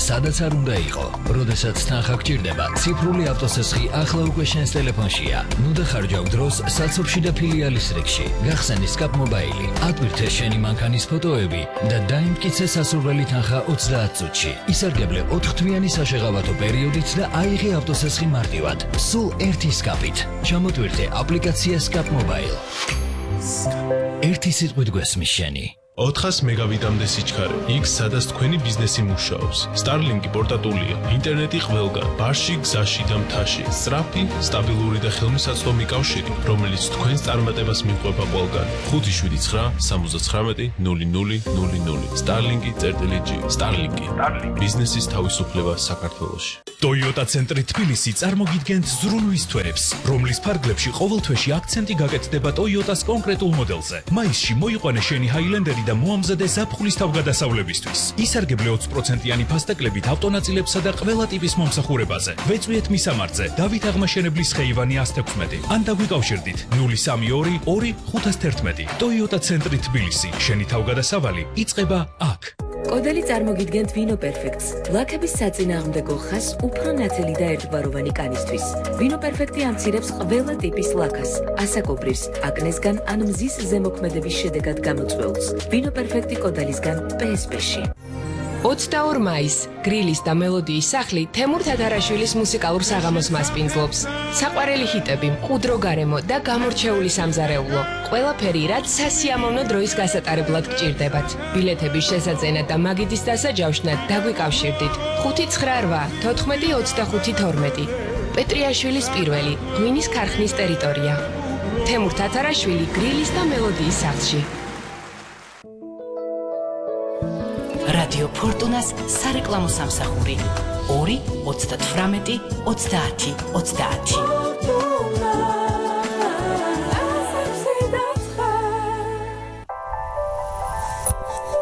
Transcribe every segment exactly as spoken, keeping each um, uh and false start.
სადაც არ უნდა იყო. როდესაც თანხა გჭირდება, ციფრული ავტოცესხი ახლა უკვე შენს ტელეფონშია. ნუ დახარჯავ დროს საცობში და ფილიალის რიგში. გახსენი Scap Mobile. ატვირთე შენი მანქანის ფოტოები და დაიმტკიცე სასურველი თანხა ოცდაათ წუთში. ისარგებლე ოთხთვიანი საშეღავათო პერიოდით და აიღე ავტოცესხი მარტივად. სულ ერთი Scap-ით. ჩამოტვირთე აპლიკაცია Scap Mobile. ერთი სიტყვით გვესმის შენი. ოთხას მეგაბიტამდე სიჩქარე. იქ სადაც თქვენი ბიზნესი მუშაობს. Starlink პორტატულია. ინტერნეტი ყველგან. ბარში, გზაში და მთაში. სწრაფი, სტაბილური და ხელმისაწვდომი კავშირი, რომელიც თქვენს წარმატებას მიყვება ყველგან. ხუთი შვიდი ცხრა სამოცდათხრამეტი ნული ნული ნული ნული. Starlink.G. Starlink. ბიზნესის თავისუფლება საქართველოში. Toyota ცენტრი თბილისი წარმოგიდგენთ ზრუნვის თვეებს, რომლის ფარგლებში ყოველ თვეში აქცენტი გაკეთდება Toyota-ს კონკრეტულ მოდელზე. მაისში მოიყვანე შენი Highlander და მოამზადე ზაფხულის თავგადასავლებისთვის. ისარგებლე ოცი პროცენტიანი ფასტეკლებით ავტონაწილებსა და ყველა ტიპის მომსახურებაზე. ვეწვიეთ მისამართზე დავით აღმაშენებლის ხეივანი ასთ ექვსმეტი. ან დაგვიკავშირდით ნული სამი ორი ორი ხუთას თერთმეტი. Toyota ცენტრი თბილისი. შენი თავგადასავალი იწყება აქ. კოდელი წარმოგიდგენთ Vino Perfect-ს. ლაქების საწინააღმდეგო ხაზს უფრო ნათელი და ერთგვაროვანი კანისთვის. Vino Perfect-ი ამცირებს ყველა ტიპის ლაქას, ასაკობრივს, აკნესგან ან მზის ზემოქმედების შედეგად გამოწვეულს. Vino Perfect-ი კოდელისგან პე ეს პე-ში. ოცდაორი მაისს გრილის და მელოდიის სახლი თემურ თათარაშვილის მუსიკალურ საღამოს მასპინძლობს. საყვარელი ჰიტები, მყუდრო გარემო და გამორჩეული სამზარეულო. ყველაფერი, რაც სასიამოვნო დროის გასატარებლად გჭირდებათ. ბილეთების შესაძენად და მაგიდის დასაჯავშნად დაგვიკავშირდით. ხუთი ცხრა რვა თოთხმეტი ოცდახუთი თორმეტი. პეტრიაშვილის პირველი, ღვინის ქარხნის ტერიტორია. თემურ თათარაშვილი გრილის და მელოდიის სახლში. რადიო ფორტუნას სარეკლამო სამსახური ორი ოცდათვრამეტი ოცდაათი ოცდაათი.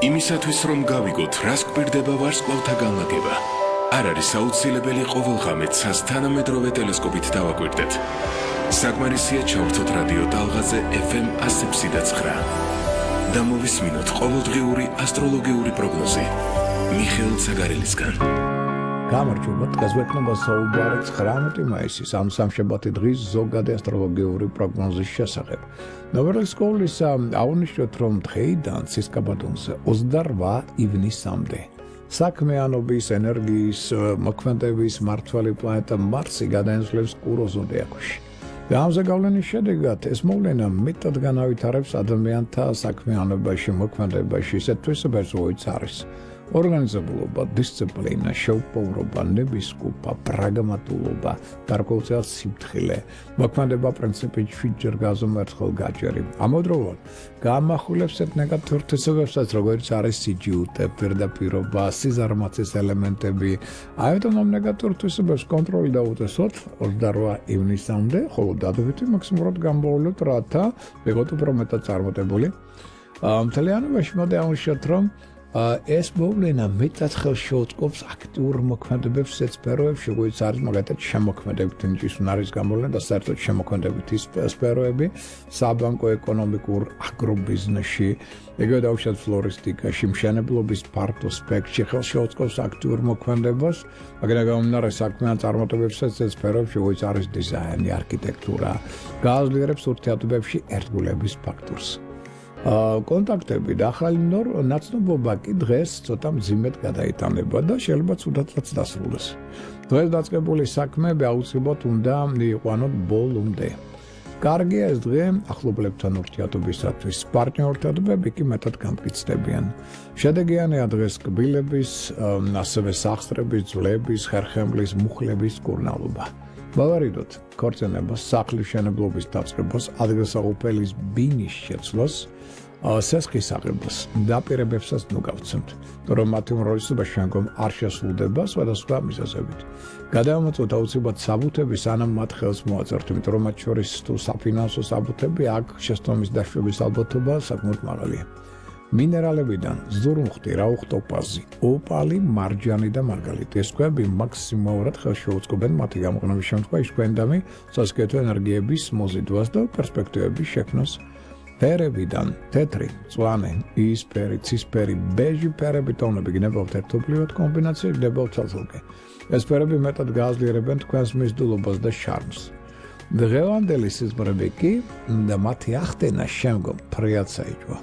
იმისათვის რომ გავიგოთ რას გვირდება ვარსკვლავთა განლაგება, არ არის აუცილებელი ყოველღამე ცას თანამედროვე ტელესკოპით დავაკვირდეთ. საკმარისია ჩავრთოთ რადიო ტალღაზე ეფ ემ ასი ექვსი და ცხრა. და მოვისმინოთ ყოველდღიური ასტროლოგიური პროგნოზი მიხეილ ცაგარელისგან. გამარჯობა, დღესვეთნება საუბარი ცხრამეტი მაისის ამ სამშაბათი დღის ზოგადი ასტროლოგიური პროგნოზის შესახებ. ნოვერლის სკოლის აღნიშნოთ, რომ დღეიდან ცისკაბადონზე ოცდარვა ივნისამდე საქმიანობის ენერგიის მოქმედების მმართველი პლანეტა მარსი გადაენაცვლებს კურო ზოდიაქოში. და ამზე გავლენის შედეგად ეს მოვლენა მეტად განავითარებს ადამიანთა საქმიანობაში, მოქმედებაში ისეთ თვისებებს, როგორც არის ორგანიზებულობა, დისციპლინა, შეუპოვრობა, ნებისყოფა, პრაგმატულობა, გარკვეულწილად სიმთხილე, მოქმედება პრინციპით შვიდჯერ გაზომერთხელ გაჯერი. ამავდროულად გაამახვილებს ერთ ნეგატიურ თვისებებსაც, როგორც არის სიჯიუტე, პირდაპირობა, სიზარმაცის ელემენტები. ამიტომ ამ ნეგატიურ თვისებებს კონტროლი დაუწესოთ ოცდარვა ივნისამდე, ხოლო დადებითი მაქსიმურად გამოვავლოთ, რათა ვიღოთ უფრო მეტად წარმატებული. მთლიანობაში მოდი აღნიშნოთ, რომ ეს მოვლენა მეტად ხელს შეუწყობს აქტიურ მოქმედებებს სფეროებში, როგორც არის მაგალითად შემოქმედებით ნიჭის უნარის გამოვლენა და საერთოდ შემოქმედებითი სფეროები, საბანკო, ეკონომიკურ, აგრობიზნესში, ეგრევე დავუშვათ ფლორისტიკაში, მშენებლობის ფართო სპექტრში ხელს შეუწყობს აქტიურ მოქმედებას, მაგრამ გამომდინარე საქმიან წარმატებებსაც ეს სფეროებში, როგორც არის დიზაინი, არქიტექტურა, გააძლიერებს ურთიერთობებში ერთგულების ფაქტორს. კონტაქტები და ახალი ნაცნობობა კი დღეს ცოტა მძიმედ გადაიტანება და შეიძლება ცუდადაც დასრულდეს. დღეს დაწყებული საქმეები აუცილებლად უნდა მიიყვანოთ ბოლომდე. კარგია ეს დღე ახლობლებთან ურთიერთობისათვის, პარტნიორთადობები კი მეტად გამტკიცდებიან. შედეგიანია დღეს კბილების, ასევე სახსრების, ძვლების, ხერხემლის, მუხლების კურნალობა. მოვარიდოთ ქორწინებას, სახლის მშენებლობის დაწყებას, ადგილსაღუპელის ბინის შეცვლას, სესხის აღებას, დაპირებებსაც ნუ გავცემთ, რომ მათი უმრავლესობა შემდგომ არ შესრულდება სხვადასხვა მიზეზებით. გადავამოწმოთ აუცილებლად საბუთები, სანამ მათ ხელს მოაწერთ, იმიტომ რომ მათ შორის თუ საფინანსო საბუთები, აქ შეცდომის დაშვების ალბათობა საკმაოდ მაღალია. მინერალებიდან ზურმუხტი, რაუხტოპაზი, ოპალი, მარჯანი და მარგალიტი. ეს ქვები მაქსიმალურად ხელს შეუწყობენ მათი გამოყენების შემთხვევაში გვენდამი სასკეთო ენერგიების მოზიდვას და პერსპექტივების შექმნას. ფერებიდან თეთრი, მწვანე, იისფერი, ცისფერი, ბეჟი ფერები ტონები გნებავთ ერთობლივად კომბინაცია გნებავთ ცალ-ცალკე. ეს ფერები მეტად გააძლიერებენ თქვენს მიზიდულობას და შარმს. დღევანდელი სიზმრები კი და მათი ახდენა შემდგომ ფრიად საიჭვა.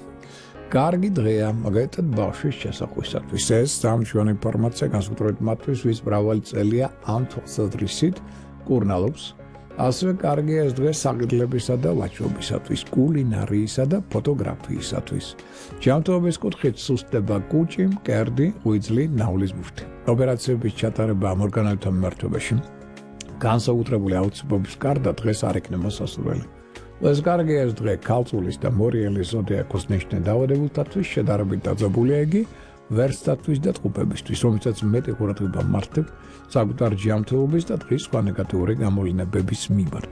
კარგი დღეა, მაგალითად ბავშვის შესახვისათვის. ეს სამშვენი ინფორმაცია განსაკუთრებით მათთვის, ვის მრავალი წელია ამ თვალსაზრისით კურნალობს. ასევე კარგია ეს დღე საგრძლებისა და ვაჭრობისათვის, კულინარიისა და ფოტოგრაფიისათვის. ჯანმრთელობის კუთხით სუსტდება კუჭი, მკერდი, ღვიძლი, ნავლის ბურთი. ოპერაციების ჩატარება ამ ორგანოებთან მიმართებაში განსაკუთრებული აუცილებლობის გარდა დღეს არ იქნება სასურველი. ეს კარგია ეს დღე ქალწულის და მორიელის ზოდიაქოს ნიშნე დაავადებულთათვის, შედარებით დაძაბულია იგი ვერსტათვის და ტყუპებისთვის, რომელსაც მეტი ყურადღება მართებ საკუთარ ჯანმრთელობის და დღის სხვა ნეგატიური გამოვლინებების მიმართ.